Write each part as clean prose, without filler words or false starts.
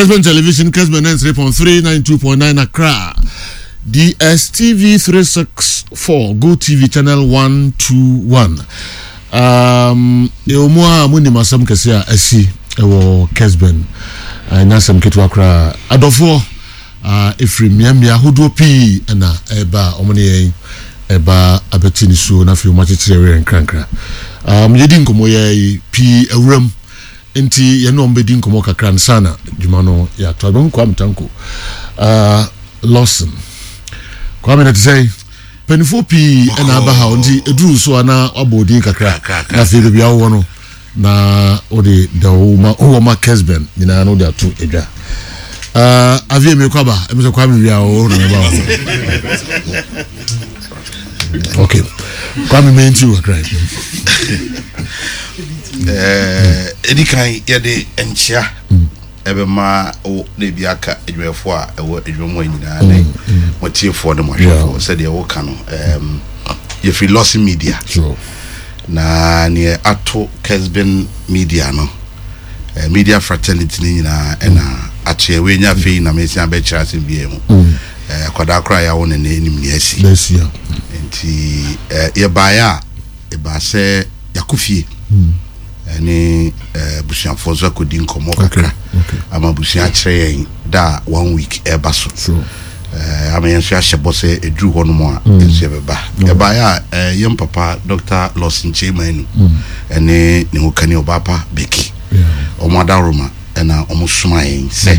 Kesben Television, Kesben 93.3, 92.9 Accra, DSTV 364, Go TV Channel 121. Um, ɛwɔ mu a monim asɛm kɛse a asi ɛwɔ Kesben. Ɛnyɛ asɛm ketewa koraa. Adɔfoɔ ɛfiri mmeammea ahodoɔ pii ɛna ɛba a wɔn ne yɛn ɛba abɛte ne suo na afei wɔn akyekyere werɛ nkrankra. Um, yɛdi nkɔmmɔ yɛ pii awuram. Nti yɛne wɔn bɛdi nkɔmmɔ kakra ansa na dwuma no yɛato abɛhu Kwame Tanko uh, Lawson. Kwame na te sɛ mpanimfoɔ pii ɛna aba ha nti ɛduru so a na wabɔ odin kakra na afei baabi a wowɔ no na wode da wowɔ ma Kesben nyinaa na wode ato adwa. Uh, avie me kwaba ɛmi sɛ Kwame wia o na meba wɔ okay Kwame menti wo kakra. Ɛdi kan yɛde nkyea ɛbɛma wo na ebi aka adwumayɛfoɔ a ɛwɔ adwuma mu nyinaa ne mɔtiefoɔ ne mɔhwɛfoɔ sɛdeɛ woka no yɛfiri Lawson Media na neɛ ato Kesben Media no media fraternity no nyinaa ɛna ato yɛ wei nya afei na mesia bɛkyerɛ asɛm biara mu akwadaa koraa yɛawo ne ne anim ne asi nti yɛbaeɛ a Ɛbaa sɛ yɛakɔ fie ne abusuafoɔ nso akɔdi nkɔmmɔ kakra ama abusua akyerɛ yɛn da a one week ɛreba so ama yɛn nso yɛahyɛ bɔ sɛ ɛduru hɔ nom a yɛn nso yɛbɛba. Ɛbaeɛ a yɛn papa Dr. Lawson Kyei Manu ne ne hokani Ɔbaapa Becky wɔn adaworoma na wɔsomaa yɛn sɛ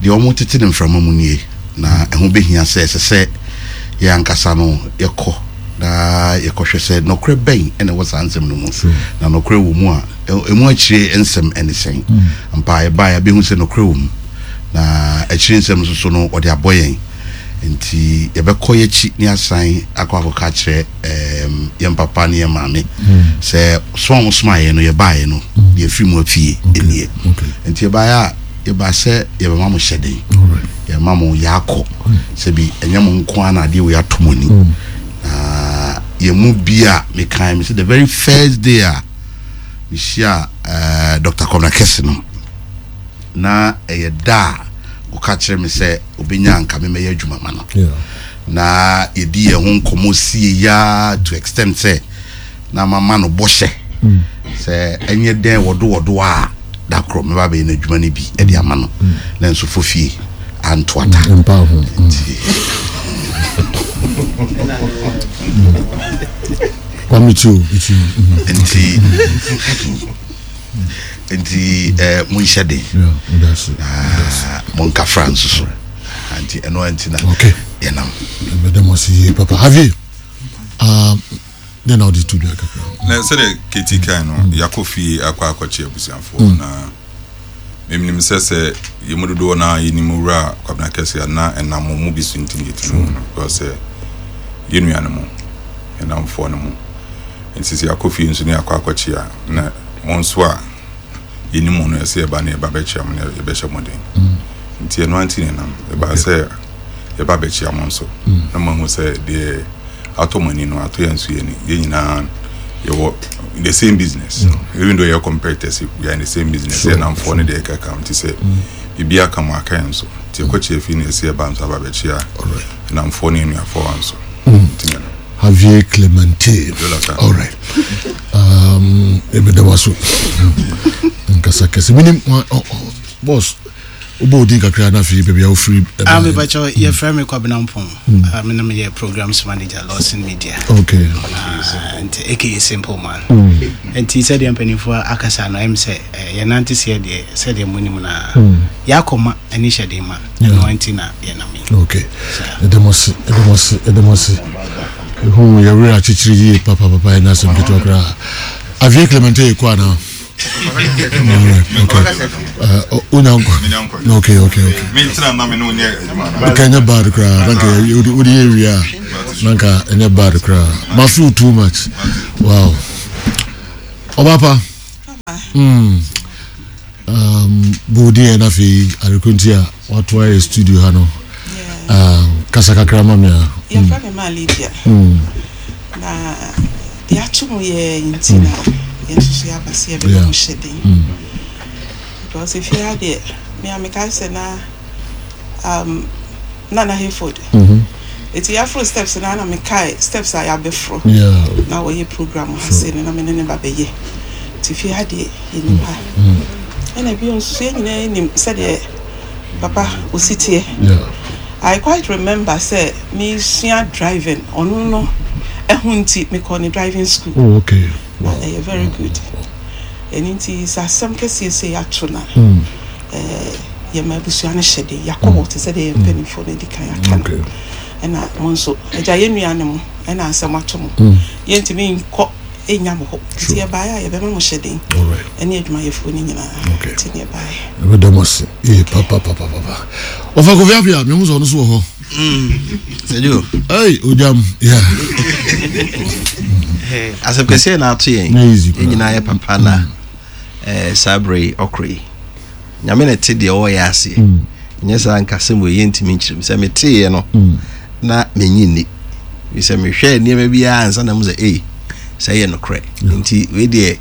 deɛ wɔtete no mframa mu nie, na ɛho bɛhia sɛ ɛsɛ sɛ yɛn ankasa no yɛkɔ na yɛkɔhwɛ sɛ nɔkorɛ bɛn na ɛwɔ saa nsɛm no mu, na nɔkorɛ wɔ mu a, ɛmu akyire nsɛm ne sɛn. Ampa yɛbaeɛ abɛhu sɛ nɔkorɛ wɔ mu, na akyire nsɛm nso so no wɔde abɔ yɛn. Nti yɛbɛkɔ yɛakyi ne asan akɔ akɔka akyerɛ yɛn papa ne yɛn maame sɛ soma a wɔsomaa yɛn no yɛbaeɛ no deɛ afiri mu afie nie. Nti yɛbaeɛ a yɛbaa sɛ yɛbɛma mo hyɛden, yɛma mo yɛakɔ sɛbi ɛnyɛ mo nko ara na adeɛ wei ato mo ani. Na yɛn mu bi a mekae me sɛ the very first day a mehyia uh, Dr. Kwabena Kɛse no na ɛyɛ da a ɔka kyerɛ me sɛ obenya anka me mɛyɛ adwuma ma no na yɛdi yɛn ho nkɔmmɔ sie yaa to extent sɛ na mama no bɔhyɛ mm. sɛ ɛnyɛ dɛn wɔdo wɔdo a da korɔ mɛba bɛyɛ no adwuma no bi de ama no mm. na nso fo fie anto ata mm, nti nti nti eh, monhyɛ den na monkafra nso so nti ɛno anti na yɛnam mɛda mo ase yie papa Javier um, dɛn na wode to dwa kakra na sɛdeɛ kɛti kan no mm. yɛakɔ fie akɔ akɔkye abusuafoɔ mm. na menim sɛ sɛ yɛ mu dodoɔ no a yɛnim wura Kwabena Kɛse a na ɛnam mo mu bi so nti ne yɛtumi hu no because sɛ yɛ nua no mu yɛnamfoɔ no mu nti sɛ yɛakɔ fie nso ne yɛakɔ akɔkye a na mo nso a yɛnim mo no ɛsɛ yɛba ne yɛba bɛkyia mo ne yɛbɛhyɛ mo den mm. nti ɛno anti ne nam yɛba sɛ yɛba bɛkyia mo nso mm. na moahu sɛ deɛ atɔ mo ani no atɔ yɛn nso yɛn ani yɛn nyinaa yɛwɔ the same business mm. even though yɛ competitors we are in the same business yɛ namfoɔ ne deɛ ɛkeka nti sɛ biribi aka mo aka yɛn nso nti ɛkɔkyia fi ne ɛsɛ yɛba nso aba bɛkyia namfoɔ ne anuafoɔ nso nti ne no Javier Clemente. All right. Um, ebeda waso. Nkasa kɛse. Minim boss. Wobɔ odin kakra na afei baabi a wofiri. Ah, me bacho, yɛ frɛ me Kwabena Mpong. Ah, me na meyɛ programs manager Lawson Media. Okay. Ah, nti aka Simple Man. Nti sɛdeɛ mpanimfoɔ akasa no ɛm sɛ yɛnante seɛ deɛ sɛdeɛ monim no a yɛakɔma ani hyɛ den ma ɛno nti na yɛnam yi. Okay. Ɛda mo ase, ɛda mo ase, ɛda mo ase. Ehu yɛ werɛ akyekyere yie papapapa ɛna asɛm ketewa koraa. Avie Clemente yɛ kɔ anaa? Wonya nkɔ? Okay, okay, okay. Nka ɛnyɛ bad koraa, na nka wode yɛ wie a, na nka ɛnyɛ bad koraa. Ma feel too much. Wow. Ɔba pa. Mm. Um, bɔ na afei areko nti a wato ayɛ studio ha no. Um, kasa kakra ma me a. Yɛfrɛ me ma Lydia. Na yɛato mu yɛ nti na yɛn nso so yɛaba sɛ yɛbɛbɔ mo hyɛ den. Because efie ha deɛ. Me a mekae sɛ na um, Nana Hayford. Eti yɛaforo steps no a na mekae steps a yɛabɛforo. Na wɔyɛ program ha sei no na me ne ne ba bɛyɛ. Nti fie ha deɛ yɛnim ha. Ɛna bio nso so yɛn nyinaa nim sɛdeɛ papa osi teɛ. I quite remember sɛ mesua driving ɔno no ɛho nti mekɔɔ ne driving school. Oh, okay. Na ɛyɛ very good. Ɛno nti sɛ asɛm kɛseɛ sei ato no a, eh, yɛma abusua no hyɛ den. Yɛakɔ hɔ te sɛ deɛ yɛn mpanimfoɔ no adi kan aka no. Ɛna mo nso, agya yɛn nua ne mo, ɛna asɛm ato mo. Yɛntumi nkɔ nnya mo hɔ. Nti yɛbaeɛ a yɛbɛma mo hyɛ den. Ɛne adwumayɛfoɔ no nyinaa. Nti ne yɛbaeɛ. Ɛbɛda mo ase. Ee, papapapapa. Ɔfa Kofi Appiah, mehu sɛ ɔno nso wɔ hɔ. Sɛdio. Hey, ojam. Yeah. Asɛm kɛseɛ na ato yɛn. Yɛn nyinaa yɛ papa na mm. eh, saa berɛ yi ɔkorɔ yi. Nyame na ɛte deɛ ɔwɔ yɛ aseɛ. Mm. Nyɛ saa nkasɛm wɔ yɛntumi nkyerɛ mu. Sɛ meteeɛ no mm. na menyi nni. Sɛ mehwɛ nneɛma biara ansa na mu sɛ ei sɛ ɛyɛ nokorɛ. Nti wei deɛ.